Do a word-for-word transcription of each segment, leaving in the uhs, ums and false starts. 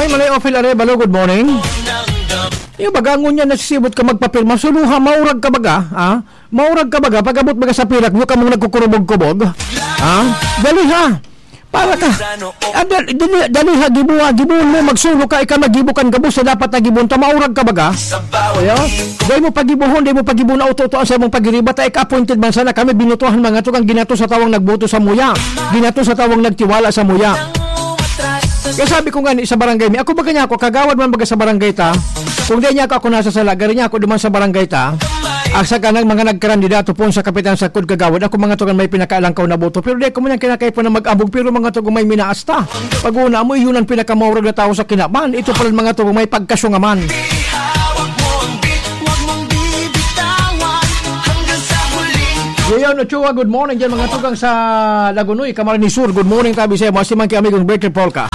Ay, Malay Ophel Arevalo, good morning. Yung baga, ngunyan nasisibot ka magpapirma, suluha, maurag ka baga, ha? Maurag ka baga, pag-abot baga sa pirak, yung kamong nagkukurubog-kubog, ha? Dali ha! Para ka, ah, dal- dali, dali ha, gibo ha, gibohon mo, magsulo ka, ikaw maggibo kan gabos sa dapat na gibohon ta, maurag ka baga? Ayo? Dahil mo pagibohon, dahil mo pagibohon, auto-auto ang sa mong pagiriba, ta ika-appointed man sana kami, binutuhan mga tugang ginato sa tawang nagboto sa muya, ginato sa tawang nagtiwala sa muya. Kaya sabi ko nga ni sa barangay mi, ako ba kanya ako, kagawad man baga sa barangay ta? Kung di niya ako, ako nasa sala, gari niya ako duman sa barangay ta. Asa ka nang mga nagkarandidato po sa kapitan sa Kud Kagawad, ako mga tugan may pinakaalangkaw na boto. Pero di ko man yan kinakaipo na mag-abog, pero mga tugang may minaas ta. Pag-una mo, iyon ang pinakamaurag na tao sa kinaban. Ito pala mga tugang may pagkasungaman. Leon Ochoa, good morning dyan mga tugang sa Lagunoy, Camarines Sur. Good morning, tabi sa'yo. Masiman kay amigong Bertie Polka.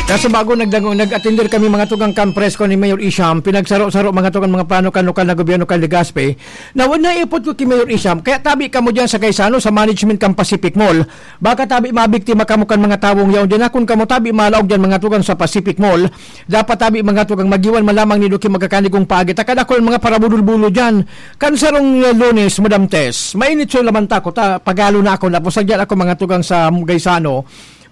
Kaso bago nagdango, nag-attender kami mga tugang kan presko ni Mayor Isham, pinagsaro-saro mga tugang mga plano kan lokal na gobyerno kan Legazpi, na wala ipot ko ki Mayor Isham, kaya tabi kamo dyan sa Gaisano, sa management kan Pacific Mall. Baka tabi mabiktima kamo kan mga tawong yaon dyan, akon kamo tabi malaog dyan mga tugang sa Pacific Mall. Dapat tabi mga tugang magiwan man lamang ni Duki magkakanigong paagi, takad ako ng mga parabudol-bulo dyan. Kan sarong, eh, Lunes, Madam Tess, mainit so laman ta ako, ta, pagalo na ako, napusag dyan ako mga tugang sa Gaisano.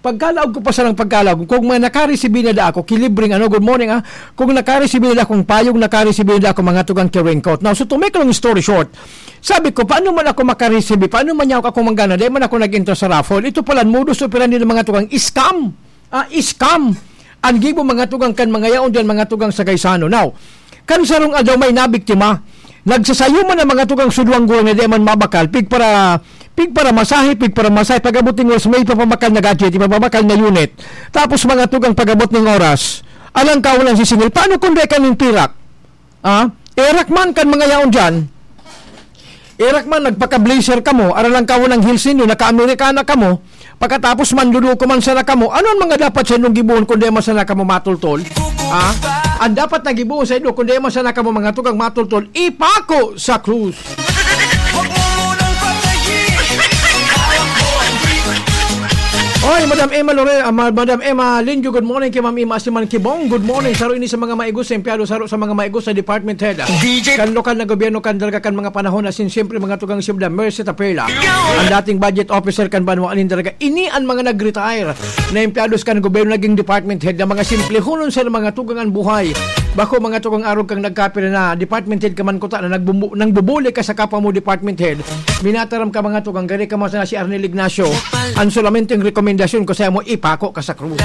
Pagkalaog ko pa sa ng pagkalaog, kung may nakaresibi na da ako, kilibreng ano, good morning, ah. Kung nakaresibi na da akong payong, nakaresibi na da ako mga tugang ki raincoat. Now, so to make a long story short, sabi ko, paano man ako makaresibi? Paano man niya ako manggana? Dahil man ako nag-enter sa raffle. Ito pala, modus operandi ng mga tugang scam. Ah, scam. Ang gibo mga tugang kan mga yaon dyan, mga tugang sa Gaisano. Now, kan sarong aldaw may nabiktima, nagsasayo man ang mga tugang sudwang gurang na di man mabakal, pig para, pig para masahe, pig para masahe, pag-abot ng oras, may ipapabakal na gadget, ipapabakal na unit. Tapos mga tugang pag-abot ng oras, alang ka walang sisingil. Paano kung di ka ning pirak? Ah, erak man kan mga yaon dyan. Erak man, nagpaka-blazer kamo, aram lang kamo ng heels ninyo, naka-Amerikana kamo, pagkatapos manluluko man sana kamo, ano ang mga dapat sa inyong gibuhon kung di man sana kamo matultol? Ah? Ang dapat na gibuhon sa inyo kung di man sana kamo mga tugang matultol, ipako sa krus. Oy, Madam Emma Lore-, ah, Ma-, Madam Emma Linjo, good morning kay Ma'am Emma Siman Kibong. Good morning. Saro ini sa mga maigos sa empleyado, saro sa mga maigos sa department head. D J. Kan lokal na gobyerno, kan talaga kan mga panahon, as in, siyempre, mga tugang siyudad, Mercy Tapela. Ang dating budget officer kan banwa, anin talaga. Ini ang mga nag-retire na empleyados kan gobyerno, naging department head, na mga simple hunon sa mga tugang ang buhay. Bako, mga tugang arog kang nagkapira na department head ka man kuta na nagbumbu-, nang bubuli ka sa kapwa mo department head. Minataram ka mga tugang, gari ka man sana si Arnel Ignacio. Ang solamenteng rekomendasyon ko sa mo, ipako ka sa krus.